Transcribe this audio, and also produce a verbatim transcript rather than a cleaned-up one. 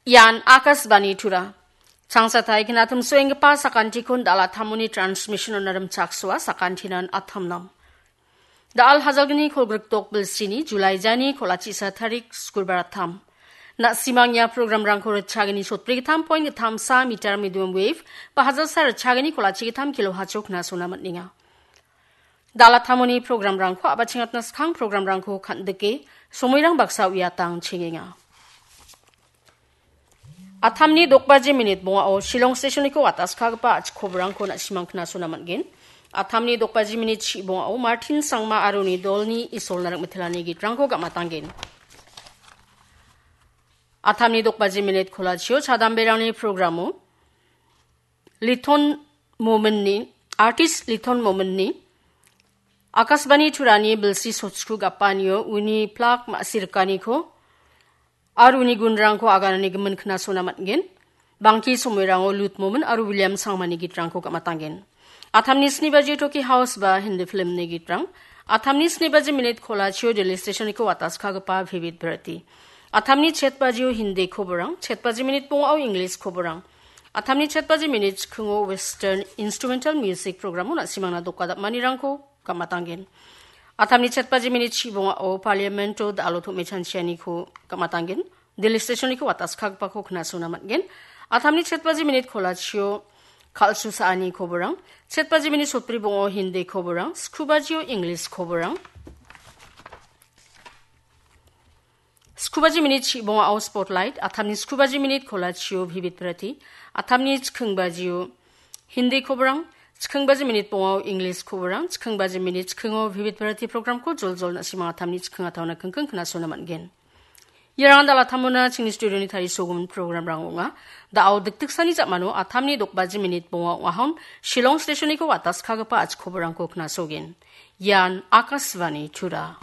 Ian Akashvani Tura. Changsatai knatum soenggipa sakantikon dal·a tamoni transmission-ona rimchaksoa sakantinan atamnam. Dal hajalgni kolgrikdok bilsini July jani kolachisa tarik skurbar atam. Na·simang ia programrangko ritchagini sotbrigittam point gittamsa meter medium wave ba hajalsa ritchagini kolachigittam kilo hachok nasona man·enga. Dal·a tamoni programrangko a·bachengatna skang programrangko kan·dike somoirang baksa uiatang chengenga. Atamni dokbaji minit bongao Shillong stationiko wataskagipa a·chik koborangko na·simang knasona man·gen. Atamni dokbaji minit chi bongao Martin Sangma aro uni dolni Isolna rik mitelani gitrangko gam·atanggen. Atamni dokbaji minit kolachio chadamberangni programo Liton Mominni, artist Liton Mominni Akashvani Turani bilsi sotsku gapanio uni plak ma·sirikaniko aro uni gunrangko aganani gimin knasona man·gen. Bangki somoirango Lut Momin aro William Sangmani gitrangko gam·atanggen. Atamni sni baji Toki House ba Hindi filmni gitrang. Atamni sni baji minit kolachio Delhi stationiko wataskagipa Vivid Bharati. Atamni chet bajio Hindi koborang, chet baji minit bongao English koborang. Atamni chet baji minit chikingo Western instrumental music programo na·simangna dokadapmanirangko gam·atanggen. Atamni chet baji minit chi bongao Parliamento dal·o tom·e chanchianiko gam·atanggen. Delhi stationiko wataskagipako knasona man·gen. Atamni chet baji minit kolachio kal·su sa·ani koborang, chet baji minit sotbri bongao Hindi koborang, sku bajio English koborang, sku baji minit chi bongao Spotlight, atamni sku baji minit kolachio Vivid Bharati, atamni chiking bajio Hindi koborang, chiking baji minit bongao English koborang, chiking baji minit chikingo Vivid Bharati programko joljol na·simang atamni chiking ataona kingking knasona man·gen. Iarang dal·a tamona chingni studioni tarisogimin programrang ong·a. Da·o dikdiksani ja·mano atamni dokbaji minit bonga ong·ahon Shillong stationiko wataskagipa a·chik koborangko knasogen. Ian Akashvani Tura.